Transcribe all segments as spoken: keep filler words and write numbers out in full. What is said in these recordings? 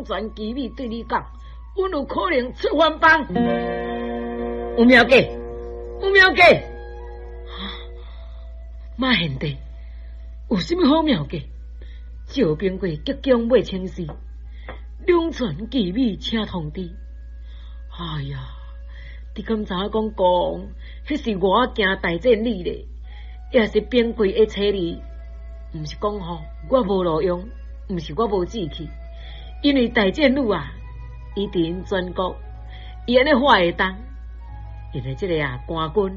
全機密對你講，阮有可能出番邦。有妙計，有妙計。馬賢弟，有啥物好妙計？趙兵貴即將欲請示，兩全其美，請通知。哎呀，你敢知影講講，彼是我驚大戰你咧，也是兵貴會揣你，毋是講吼，我無路用，毋是我無志氣，因為大戰女啊，伊佇𪜶全國，伊按呢話會當，因為這个啊官軍，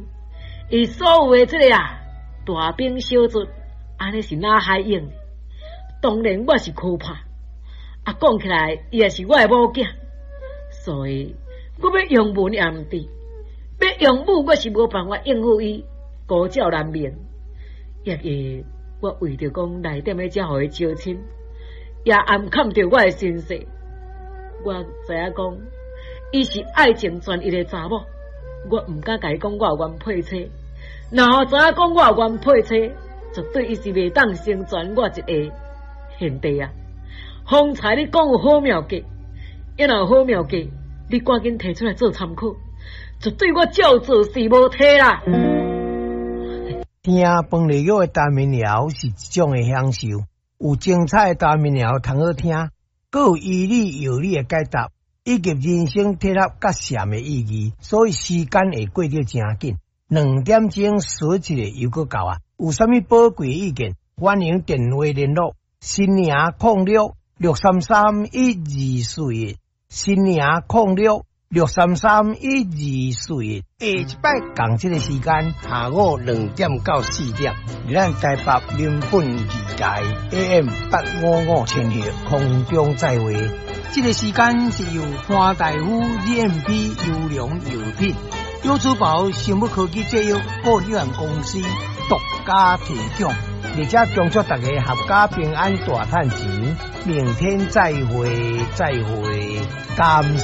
伊所有的這个啊大兵小卒，按呢是哪海用？當然我是可怕，啊講起來，伊也是我的某囝，所以我欲用文也毋對，欲用武我是無辦法應付伊，孤照難眠。抑會我為著講來踮咧遮予伊招親，也暗崁著我的身世。我知影講，伊是愛情專一的查某，我毋敢共伊講我有原配妻。若予知影講我有原配妻，絕對伊是袂當成全我一个賢弟啊！方才你講有好妙計，若有好妙計，你趕緊提出來做參考，絕對我照做事無提啦。聽飯內玉的台民謠是一種的享受，有精彩的台民謠通好聽，閣有醫理藥理的解答，以及人生哲學佮禪的意義，所以時間會過得誠緊。兩點鐘說一个又閣到啊！有啥物寶貴意見，歡迎電話聯絡。新營空六六三三一二四一，新營空六六三三一二四一。下一擺仝這个時間，下午兩點到四點，咱台北民本二台 A M 八五五千赫空中再會。這个時間是由潘大夫 G M P 優良藥品、有珠寶生物科技製藥股份有限公司獨家提供。而且恭祝大家闔家平安，大趁錢。明天再會，再會，感謝。